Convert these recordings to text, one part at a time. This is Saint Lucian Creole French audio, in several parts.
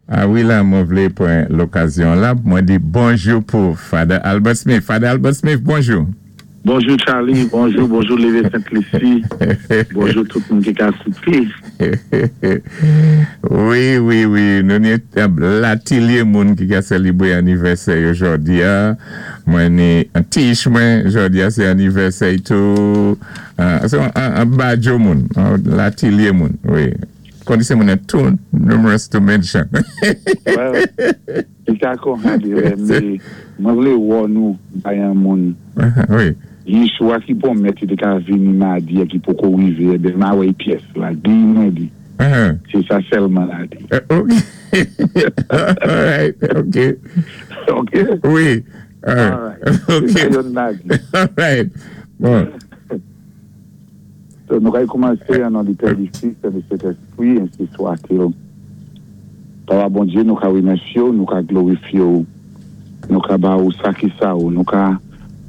A wi la mwen vlé pran lokazyon la pou mwen di bonjou pou Father Albert Smith. Father Albert Smith, bonjou. Bonjou Charly, bonjou, bonjou Leve Sent Lisi, bonjou tout moun ki ka kouté. Wi, wi, wi, nou ni latilye moun ki ka selibre anivèsè yo jòdi a. Mwen ni tich mwen jòdi a se anivèsè y tou. Se yon badjo moun, latilye moun, wi. Kondisyon moun nan too numerous to mention. Well, li ka konha de lè me mwen vle wò nou bay an moun. Wi. Yeshua ki pwomèt li te ka vini madi a ki poko rive eben ma wè pyès la di mwen di. Se sa sèlman la di. Ok. Alright, ok. Ok? Wi. Alright. Ok. Se sa yonn la di. Alright. Bon. So nou kay koumanse an non di Pè di Fis e di Sentespri ensi swatil. Papa Bondye nou ka remèsye w nou ka glorifye w nou ka ba ou sa ki sa ou nou ka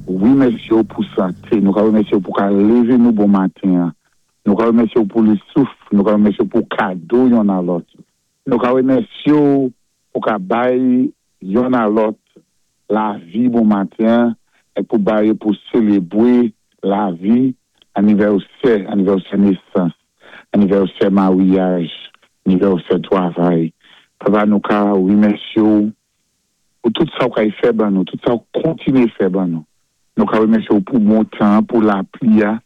remèsye w pou sante nou ka remèsye w pou ka leve nou bon maten an nou ka remèsye w pou le souf nou ka remèsye w pou kado yonn a lòt nou ka remèsye w pou ka bay yonn a lòt lavi bon maten an e pou ba yo pou selebre lavi, anivèsè, anivèsè nesans, anivèsè maryaj, anivèsè twavay. Papa nou ka remèsye w pou tout sa w kay fè ban nou, tout sa w kontinye fè ban nou. Nou ka remèsye w pou bon tan an, pou lapli a,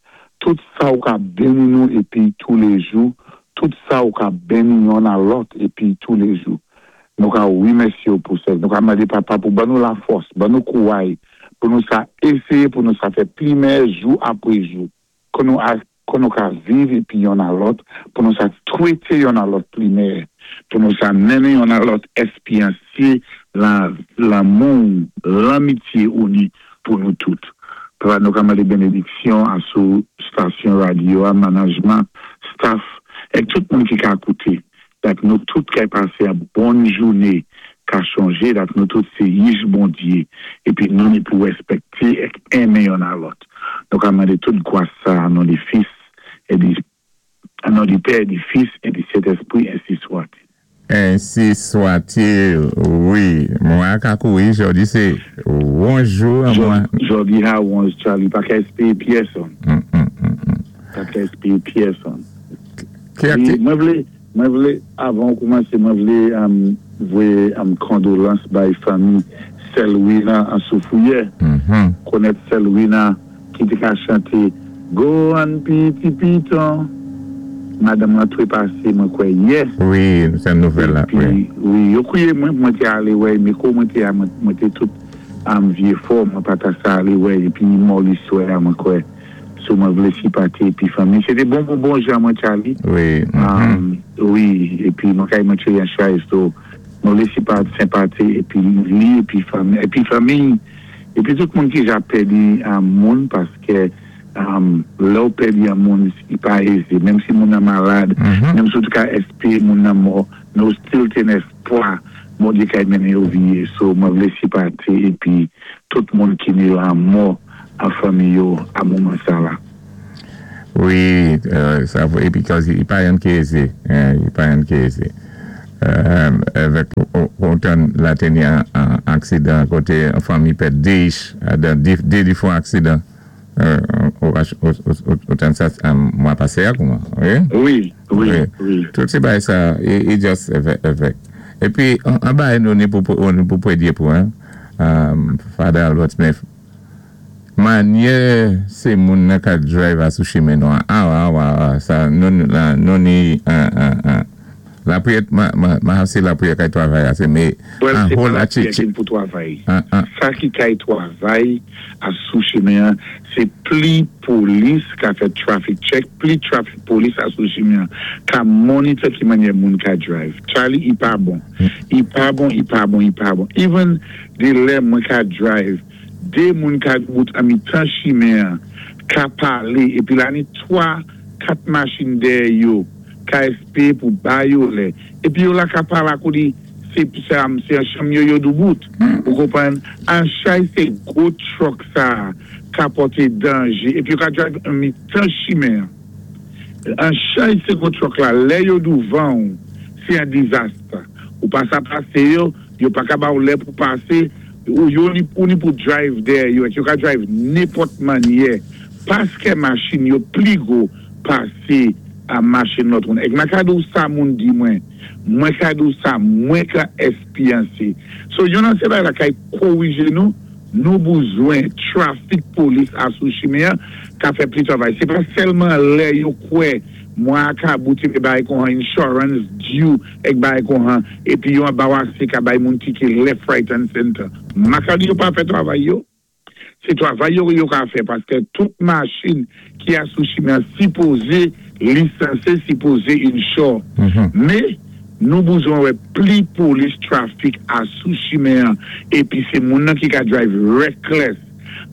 tout sa ou ka beni nou epi toulejou, tout sa ou ka beni yonn a lòt epi toulejou. Nou ka remèsye w pou sa. Nou ka mande Papa pou ban nou lafòs, ban nou kouray pou nou sa eseye pou nou sa fè pli mèyè jou apre jou. Kon nou a kon nou ka viv epi yonn a lòt, pou nou sa twete yonn a lòt pli mèyè, pou nou sa mennen yonn a lòt èspyansye lan lanmou w, lanmitye ou ni pou nou tout. Papa nou ka mande benediksyon a sou stasyon radyo a, manajman, staff, èk tout moun ki ka koute. Dat nou tout kay pase an bonn joune ka chonje dat nou tout se yich Bondye epi nou ni pou rèspèkte èk enmen yonn a lòt. Nou ka mande tout gwas sa a non di Fis e di non di Pè e di Fis e di Sentespri ensi swatil. Ensi swatil wi mwen a ka kouri jodi se wonj jou an mwen. Jodi ha wonj Charly pa ka espere pyèsonn pa ka espere pyèsonn. Ki Mwen vle, mwen vle, avan ou koumanse, mwen vle voye kondolans bay fanmi Selwina an Soufriyè. Konèt Selwina ki te ka chante Go an piti piton. Madanm lan trepase mwen kwè yè. Wi, nou tande nouvèl la, wi. Epi, wi, yo kriye mwen pou mwen te ale wè Meko mwen te a, mwen te tout vye fò, mwen pa ta sa ale wè. Epi mò li swè a mwen kwè. So mwen vle sipate epi fanmi. Se te bon bon bon jan mwen Charly. Wi. Wi epi mwen kay mwen cheri an chay so mwen vle sipate senpate epi li epi fanmi epi fanmi epi tout moun ki ja pèdi moun paske lèw pèdi yon moun li pa eze menm si moun nan malad menm si ou te ka espere moun nan mò men ou still te nan espwa Bondye kay mennen yo viye so mwen vle sipate epi tout moun ki ni lanmò a fanmi yo a moman sa la. Wi sa vre because li pa yon ki eze li pa yon ki eze evèk ou tann la te ni an aksidan kote yon fanmi pèd 2 de difwan aksidan ou tann sa mwa pase a kouman wi wi wi wi tout se bagay sa e just evèk epi an bagay nou ni pou predye pou Father Albert Smith Manyè se moun nan ka drive a sou chimen nou an awa awa awa sa nou nou ni lapriyè ma se lapriyè kay twavay a se me Well se pa lapriyè ki pou twavay sa ki kay twavay a sou chimen an se pli polis ka fè traffic check pli traffic polis a sou chimen an ka monitor ki manyè moun ka drive Charlie i pa bon i pa bon i pa bon i pa bon even de lè mwen ka drive 2 moun ka dbout an mitan chimen an ka pale epi la ni 3 4 machin dèyè yo ka espere pou ba yo lè epi yo la ka pale ak ou di se se an chanm yo yo doubout ou konprann an chay se gwo truck sa ka pòte danje epi yo ka drive an mitan chimen an. An chay se gwo truck la lè yo douvanw se an dizast. Ou pa sa pasé yo, yo pa ka ba ou lè pou pasé, ou yo ni ou ni pou drive dèyè yo, yo ka drive nenpòt mannyè, paskè machin yo pli gwo pasé a machin lòt moun. Èk mwen ka di ou sa moun di mwen, mwen ka di ou sa mwen ka espéryansé. So yon nan sé bagay la kay kowijé nou, nou bezwen traffic police a sou chimen an ka fè pli travay. Sé pa sèlman lè yo kwè mwa ka bouti mé bagay kon insurance due èk bagay kon han, épi yo anbawasé ka bay moun tike left, right and center. Ma ka di yo pa fè travay yo. Sé travay yo yo ka fè paskè tout machin ki a sou chimen sipozé lisansé, sipozé insure. Mé nou bezwen wè pli police traffic a sou chimen épi sé moun nan ki ka drive reckless.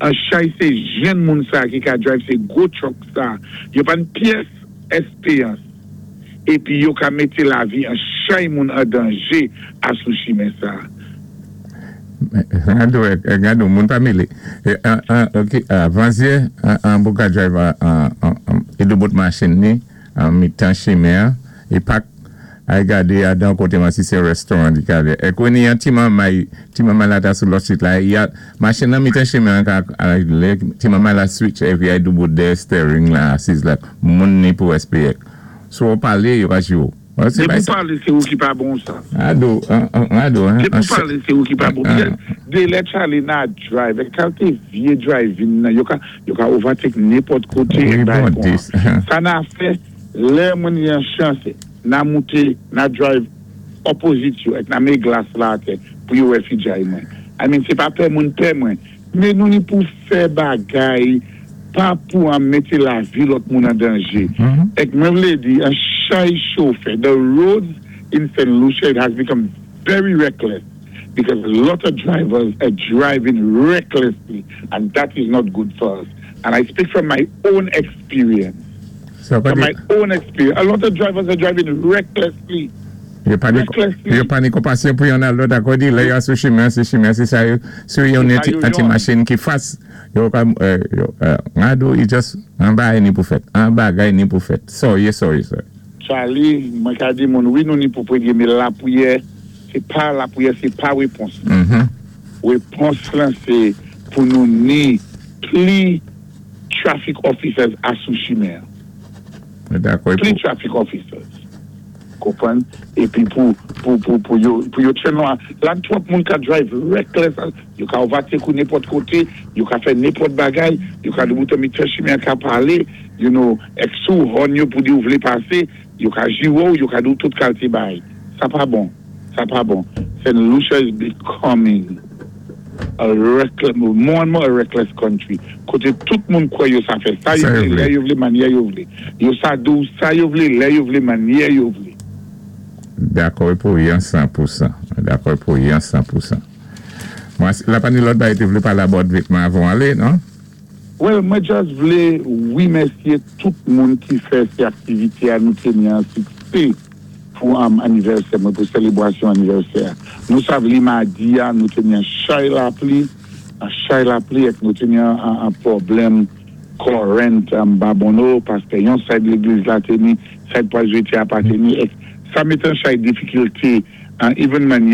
An chay sé jenn moun sa ki ka drive sé gwo truck sa. Yo pa ni pyès espéryans. Épi yo ka mété lavi an chay moun an danjé a sou chimen sa. Gado, gado, moun pa mélé. Ok, avanzyè, an bou ka drive e do bout machin ni, an mitan chimen, e pak ay gade adan koté man si sé restaurant di ka ve. E kwen ni an ti mamay, ti mamay la ta sou lòt street la, ya, machin nan mitan chimen an ka, lè, ti mamay la switch epi ay do bout de steering la, asiz la, moun ni pou SPX. So ou palé, yo ka jiwo. Sé pou palé, sé ou ki pa bon sa. Ado, ado. Sé pou palé, sé ou ki pa bon. Dé lè chale na drive, kalte vyé driving nan, yo ka overtake nenpòt koté. Sa na fè, lè moun yon chans, na mouté, na drive opposite yo, èk na mé glas la atè, pou yo wè fijay mwen. I mean, sé pa pè moun pè mwen, mé nou ni pou fè bagay, pa pou an mété lavi lòt moun an danjé. Èk mwen vlé di, an chay chofè, the roads in St. Lucia, it has become very reckless because a lot of drivers are driving recklessly and that is not good for us. And I speak from my own experience. From my own experience. A lot of drivers are driving recklessly. Yo pa ni konpasyon pou yon al lòt akòdi, lè yo sou chimen, se chimen, se sa yo, sou yon ti machin ki fas, yo ka, ngado, yo just, an bagay ni pou fèt, an bagay ni pou fèt. Sorry, sorry, sorry. Charlie, mwen ka di moun, wi nou ni pou priyé, mé lapriyè, sé pa lapriyè, sé pa wépons. Wépons lan sé pou nou ni pli traffic officers a sou chimen. Dakò. Pli traffic officers. Konpwann? Épi pou yo tchen nou la twòp moun ka drive reckless, yo ka overtake ou nenpòt koté, yo ka fè nenpòt bagay, yo ka debouté mitan chimen ka palé, èk sou horn yo pou di ou vlé pasé, yo ka jiwo, yo ka di ou tout kalté bagay. Sa pa bon. Sa pa bon. St. Lucia is becoming a reckless, more and more a reckless country. Koté tout moun kwè yo sa fè sa yo Sa yo vlé, vlé. Lè yo vlé, mannyè yo vlé. Yo sa di ou sa yo vlé, lè yo vlé, mannyè yo vlé. Dakò pou yon 100%. Dakò pou yon 100%. Mwen, la pa ni lòt bagay te vlé palé about vitman avan alé, non? Well, mwen just vlé wimèsyé tout moun ki fè sé aktivité a nou té ni an siksé pou am anivèsè, mwen pou sélébwasyon anivèsè. Nou sav li madi a, nou té ni an chay lapli, an chay lapli èk nou té ni an pwoblèm current an Babonneau, paskè yon side légliz la té ni, side Pwazwiti a pa té ni, èk sa mét an chay difikilté, an even mannyè.